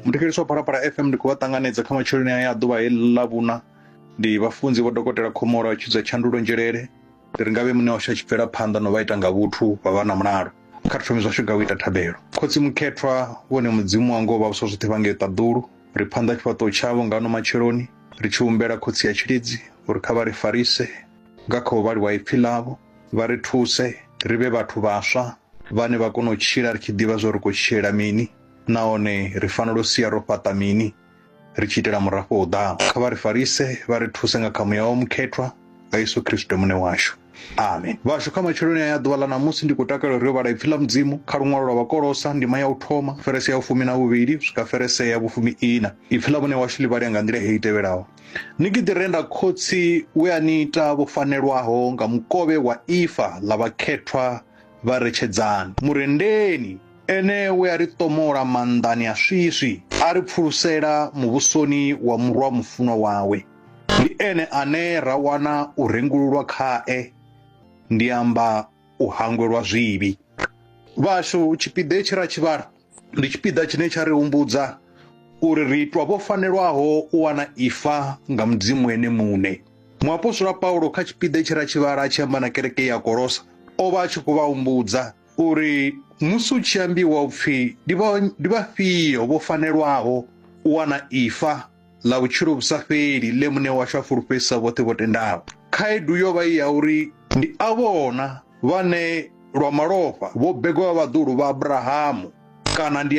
Muthetshelesi wa Phalaphala FM ndi khou vha ṱanganedza kha matsheloni aya a ḓuvha heḽi ḽa vhuna. Ndi vhafunzi vho Dokotela Khomola wa tshidza tshandulo nzhelele. Ndi ri ngavhe muṋe washu a tshi bvela phanḓa no vha ita nga vhuthu vha vha na mulalo. Kha ri thome zwashu nga u ita thabelo. Khotsi mukhethwa, vhone Mudzimu wa ngoho vha vhusa zwoṱhe vha ngei ṱaḓulu. Ri phanḓa tshifhaṱuwo tshavho nga ano matsheloni ri tshi humbela Khotsi ya tshilidzi uri kha vha ri farise nga kha u vhaliwa ipfi ḽavho, vha ri thuse ri vhe vhathu vhaswa vhane vha kona u tshila ri tshi ḓivha zwa uri khou tshilela mini nahone ri fanela u sia ro fhaṱa mini ri tshi itela murafho u ḓaho. Kha vha ri farise vha ri thuse nga kha muya wa mukhethwa nga Yesu Kristo muṋe washu. Amen. Vhashu kha matsheloni aya ḓuvha ḽa ṋamusi ndi khou takalela uri yo vhala ipfi ḽa Mudzimu kha luṅwalo lwa Vhakolosa ndima ya u thoma ferese ya vhufumi na vhuvhili u swika ferese ya vhufumi ina. Ipfi ḽa muṋe washu ḽi vhalea nga nḓila heyi tevhelaho. Ni ki ḓi renda khotsi we a ni ita vho fanelwaho nga mukovhe wa ifa ḽa vhakhethwa vha retshedzani. Murendeni ene we a ri ṱomola maanḓani a swiswi, a ri pfulusela muvhusoni wa murwa mufunwa wawe. Ndi ene ane ra wana u rengululwa khae, ndi amba u hangwelwa zwivhi. Vhashu, tshipiḓa hetshi ra tshi vhala ndi tshipiḓa tshine tsha ri humbudza uri ri itwa vho fanelwaho u wana ifa nga Mudzimu ene muṋe. Muapostola Paulo kha tshipiḓa tshi ra tshi vhala a tshi amba na kereke ya Kolosa, o vha a tshi khou vha humbudza uri musi u tshi ambiwa upfi ndi vhafhio vho fanelwaho u wana ifa ḽa vhutshilo vhu sa fheli ḽe muṋe washu a fulufhedzisa vhoṱhe vho tendaho. Khaedu yo vha i ya uri ndi avhona vhane lwa malofha vho begwa vha vhaḓuhulu vha Abrahamu kana ndi